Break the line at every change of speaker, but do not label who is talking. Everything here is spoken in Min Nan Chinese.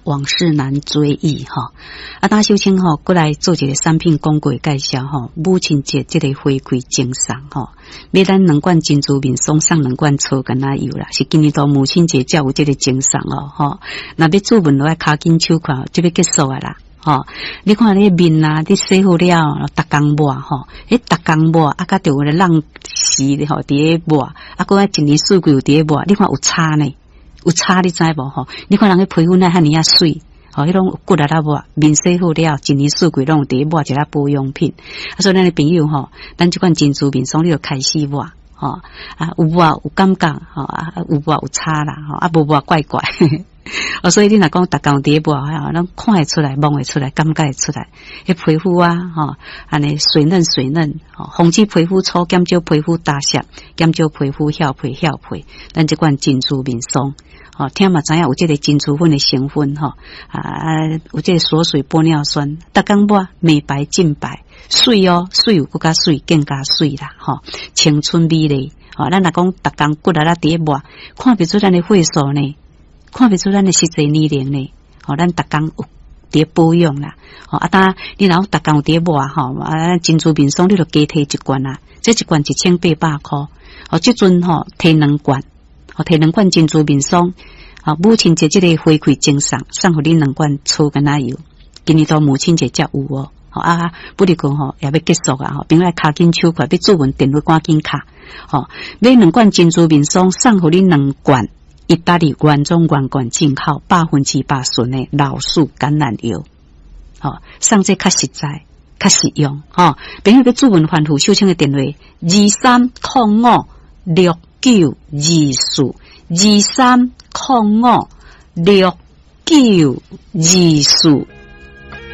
往事難追憶吼。啊，當秀清吼，閣來做一個產品廣告介紹吼，母親節這個回饋贈送吼，買咱兩罐珍珠面霜送兩罐草橄欖油啦，是今年度母親節才有這個贈送哦吼。若欲注文落來，跤緊手快，就欲結束啊啦。吼，你看你面啊，你洗好了，逐工抹吼，彼逐工抹啊，佮著有咧時吼，佇咧抹，啊，閣一年四季有佇咧抹，你看有差呢？有差你知無吼？你看人彼皮膚哪遐爾仔媠，吼，彼攏骨力仔抹，面洗好了，一年四季攏有佇咧抹一下保養品。啊，所以咱的朋友吼，咱這款珍珠面霜，你就開始抹，吼，啊，有抹有感覺，吼，啊，有抹有差啦，吼，啊，無抹怪怪。哦，所以你若講逐工佇咧抹，吼，攏看會出來，摸會出來，感覺會出來。彼皮膚啊，吼，按呢水嫩水嫩，吼，防止皮膚粗，減少皮膚焦澀，減少皮膚翹皮翹皮。咱這款珍珠面霜，吼，聽嘛知影有這個珍珠粉的成分，吼，啊，有這個鎖水玻尿酸，逐工抹美白淨白，媠哦，媠有閣較媠，更加媠啦，吼，青春美麗。吼，咱若講逐工骨力仔佇咧抹，看袂出咱的歲數呢。看袂出咱的實際年齡呢？吼，咱逐工有佇保養啦。吼，啊，當你若逐工有佇咧抹吼，啊，珍珠面霜你就加提一罐啊，這一罐1800箍。哦，這陣吼提兩罐，吼提兩罐珍珠面霜。吼，母親節這個回饋贈送，送予你兩罐草橄欖油。今年度母親節才有哦。吼啊，不如講吼也欲結束啊！吼，朋友跤緊手快，欲注文電話趕緊敲。吼，買兩罐珍珠面霜，送予你兩罐。意大利原裝原罐進口100%純的老樹橄欖油，吼，送這較實在、較實用，吼。朋友欲注文翻覆秀清的電話：23056924，23056924。